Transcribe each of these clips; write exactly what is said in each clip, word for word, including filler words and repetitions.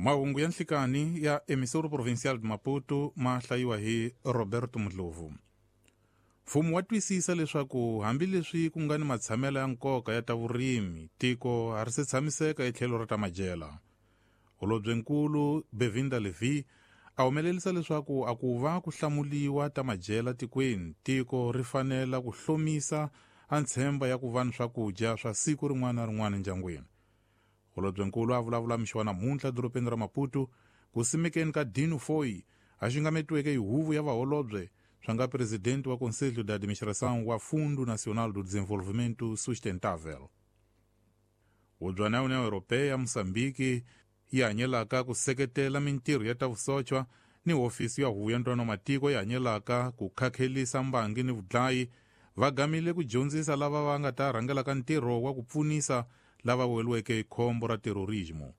Mahungu ya nhlikani ya Emissora Provincial de Maputo ma hlayiwa hi Roberto Mdlovu. Mfumo wa twisisa leswaku hambileswi ku nga ni matshamelo ya nkoka ya ta vurimi, tiko a ri se tshamiseka etlhelo ra ta madyela. Holobyenkulu Bevinda Levy a humelerisa leswaku a ku va ku hlamuliwa ta madyela tikweni, tiko ri fanela ku hlomisa a ntshemba ya ku va ni swakudya swa siku rin'wana na rin'wana endyangwini. Holobyenkulu a vulavula mixo wa namuntlha edorobeni ra Maputo ku simekeni ka Dino Foi a xingametiweke hi huvo ya vaholobye swa nga presidente wa Conselho de Administração wa Fundo Nacional do Desenvolvimento Sustentável. Hubyana ya União Europeia Moçambique yi hanyelaka ku seketela mintirho ya ta vusochwa ni hofisi ya huvo ya ntwanano matiko yi hanyelaka ku khakhelisa mbangi ni vudlayi va gamile ku dyondzisa lava va nga ta rhangelaka ntirho wa ku pfunisa lava weriweke hi khombo ra terrorismo.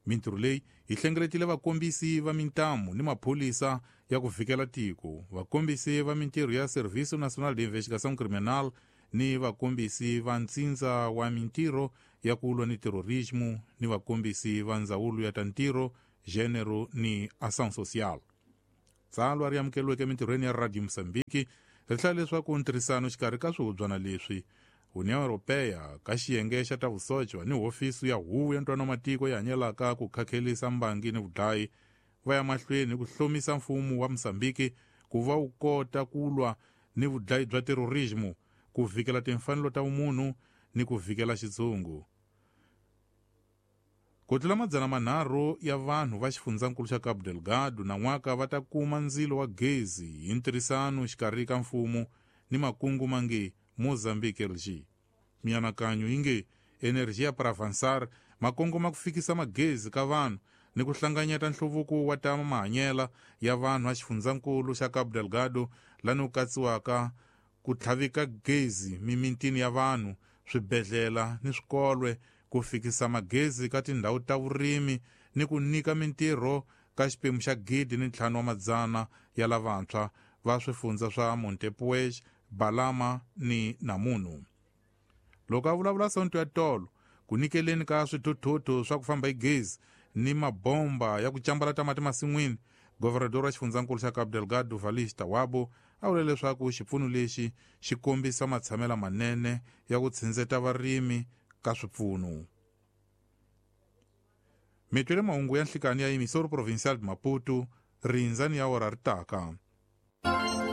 Mintirho leyi yi hlengeletile vakombisi va mintamu ni maphorisa ya ku vhikela tiko, vakombisi va mintirho ya Serviço Nacional de Investigação Criminal ni vakombisi va ntsindza wa mintirho ya ku lwa ni terrorismo ni vakombisi va ndzawulo ya ta ntirho, gênero ni ação social. Tsalwa ri amukeriweke emintirhweni ya Radio Mozambique ri hlaya leswaku ntirhisano xikarhi ka swihubyana leswi União Europeia ka xiyenge xa ta vusochwa ni hofisi ya huvo ya ntwanano matiko yi hanyelaka ku khakhelisa mbangi ni vudlayi va ya mahlweni ku hlomisa mfumo wa Mozambique ku va wu kota ku lwa ni vudlayi bya terrorismo, ku vhikela timfanelo ta vumunhu ni ku vhikela xitshungu. Ku tlula madzana manharhu ya vanhu va xifundzankulu xa Cabo Delgado nan'waka va ta kuma ndzilo wa gezi hi ntirhisano xikarhi ka mfumo ni makungu mange Mozambique L G. Mianakanyo yi nge Energia para Avançar makongoma ku fikisa magezi ka vanhu ni ku hlanganyeta nhluvuko wa ta mahanyela ya vanhu a xifundzankulu xa Cabo Delgado lani ku katsiwaka ku tlhavika gezi mimitini ya vanhu, swibedhlele ni swikolwe, ku fikisa magezi ka tindhawu ta vurimi ni ku nyika mintirho ka xiphemu xa gidi ni ntlhanu wa madzana ya lavantshwa va swifundza swa Montepuez, Balama ni Namunu. Loko a vulavula Sonto ya tolo ku nyikeleni ka swithuthuthu swa ku famba hi gezi ni mabomba ya ku cambalata mati masin'wini, governador wa xifundzankulu xa Cabo Delgado Valis Tawabo a vule leswaku xipfuno lexi xi kombisa matshamelo manene ya ku tshindzeta varimi ka swipfuno. Mitwele mahungu ya nhlikani ya Emissora Provincial de Maputo, rindzani ya ora ri taka.